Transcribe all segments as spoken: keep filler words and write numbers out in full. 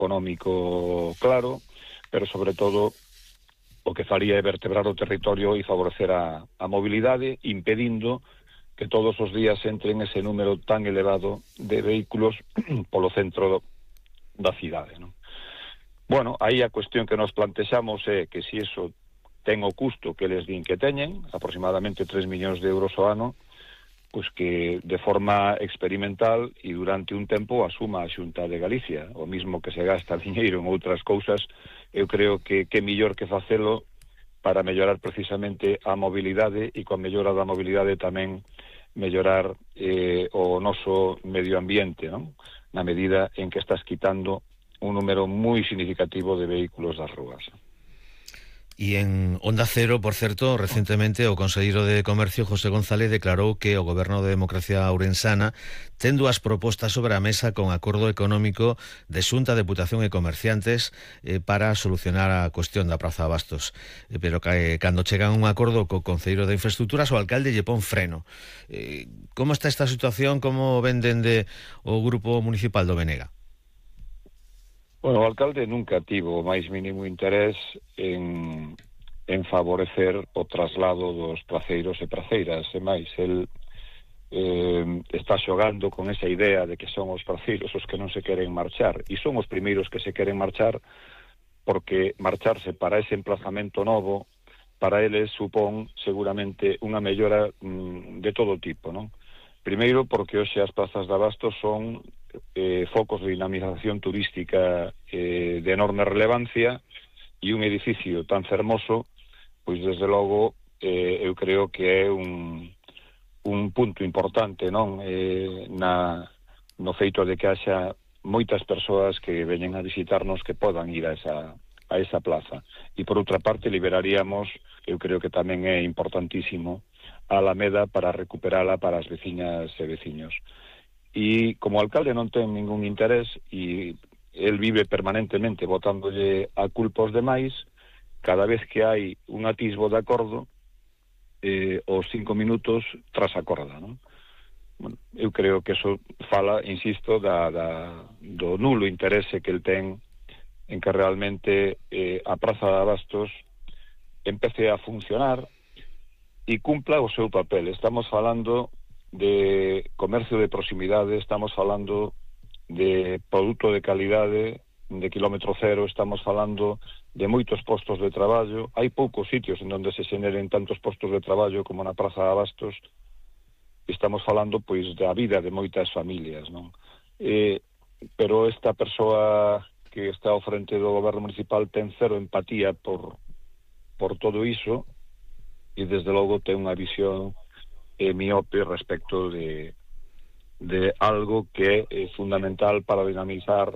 económico claro, pero sobre todo o que faría é vertebrar o territorio e favorecer a, a mobilidade, impedindo que todos os días entren ese número tan elevado de vehículos polo centro do, da cidade, non? Bueno, aí a cuestión que nos plantexamos é que se iso ten o custo que les din que teñen, aproximadamente tres millóns de euros ao ano, pois que de forma experimental e durante un tempo asuma a Xunta de Galicia, o mismo que se gasta diñeiro en outras cousas. Eu creo que que mellor que facelo para mellorar precisamente a mobilidade e con mellora da mobilidade tamén mellorar eh, o noso medio ambiente, non? Na medida en que estás quitando un número moi significativo de vehículos das rúas. E en Onda Cero, por certo, recentemente o conselleiro de Comercio, José González, declarou que o Goberno de Democracia Ourensana ten dúas propostas sobre a mesa con acordo económico de Xunta, Deputación e Comerciantes eh, para solucionar a cuestión da Praza de Abastos. Eh, pero que, eh, cando chegan a un acordo co conselleiro de Infraestructuras, o alcalde lle pon freno. Eh, como está esta situación? Como ven dende o Grupo Municipal do Benega? Bueno, o alcalde nunca tivo o máis mínimo interés en, en favorecer o traslado dos praceiros e praceiras, e máis, el eh, está xogando con esa idea de que son os praceiros os que non se queren marchar, e son os primeiros que se queren marchar, porque marcharse para ese emplazamento novo, para eles supón seguramente unha mellora mm, de todo tipo, non? Primeiro, porque hoxe as plazas de Abastos son eh, focos de dinamización turística eh, de enorme relevancia, e un edificio tan fermoso, pois desde logo eh, eu creo que é un, un punto importante, non? Eh, na, no feito de que haxa moitas persoas que veñen a visitarnos que podan ir a esa, a esa plaza. E por outra parte liberaríamos, eu creo que tamén é importantísimo, a Alameda para recuperala para as veciñas e veciños. E como o alcalde non ten ningún interés e el vive permanentemente botándolle a culpa aos demais, cada vez que hai un atisbo de acordo, eh, os cinco minutos tras a corda, non? Bueno, eu creo que eso fala, insisto, da, da, do nulo interese que el ten en que realmente eh, a Praza de Abastos empece a funcionar e cumpla o seu papel. Estamos falando de comercio de proximidade, estamos falando de produto de calidade, de kilómetro cero, estamos falando de moitos postos de traballo. Hai poucos sitios en onde se xeneren tantos postos de traballo como na Praza de Abastos. Estamos falando, pois, da vida de moitas familias, non? Eh, pero esta persoa que está ao frente do goberno municipal ten cero empatía por, por todo iso, e desde logo ten unha visión eh, miope respecto de, de algo que é fundamental para dinamizar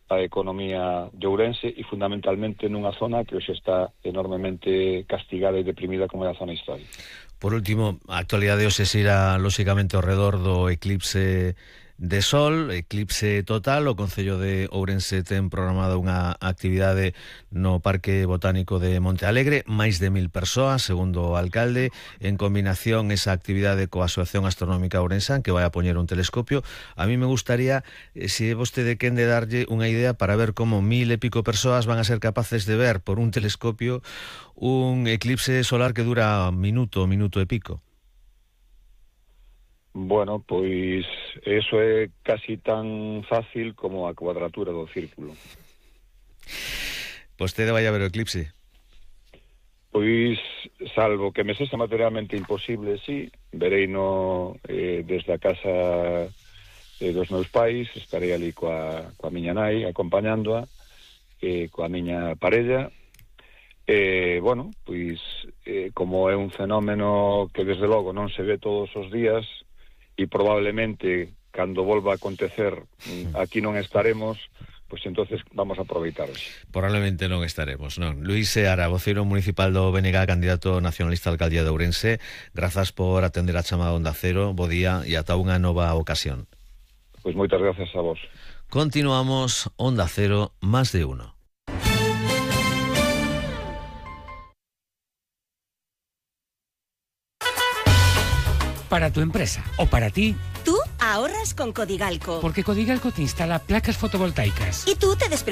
a economía de Ourense e fundamentalmente nunha zona que hoxe está enormemente castigada e deprimida como é a zona histórica. Por último, a actualidade hoxe se irá lóxicamente ao redor do eclipse de sol, eclipse total. O Concello de Ourense ten programada unha actividade no Parque Botánico de Monte Alegre, máis de mil persoas, segundo o alcalde, en combinación esa actividade coa Asociación Astronómica Ourensán, que vai a poñer un telescopio. A mí me gustaría, eh, se vostede quen de darlle unha idea para ver como mil e pico persoas van a ser capaces de ver por un telescopio un eclipse solar que dura minuto, minuto e pico. Bueno, pois eso é casi tan fácil como a cuadratura do círculo. Vostede vai a ver o eclipse? Pois, salvo que me sexa materialmente imposible, sí, verei no, eh, desde a casa eh, dos meus pais, estarei ali coa, coa miña nai, acompañándoa, eh, coa miña parella. Eh, bueno, pois, eh, como é un fenómeno que desde logo non se ve todos os días, e probablemente cando volva a acontecer aquí non estaremos, pois entonces vamos a aproveitar hoxe. Probablemente non estaremos, non. Luís Seara, voceiro municipal do B N G, candidato nacionalista á alcaldía de Ourense, grazas por atender a chamada Onda Cero, bo día e ata unha nova ocasión. Pois moitas grazas a vos. Continuamos Onda Cero, más de uno. Para tu empresa o para ti. Tú ahorras con Codigalco. Porque Codigalco te instala placas fotovoltaicas. Y tú te despreocupas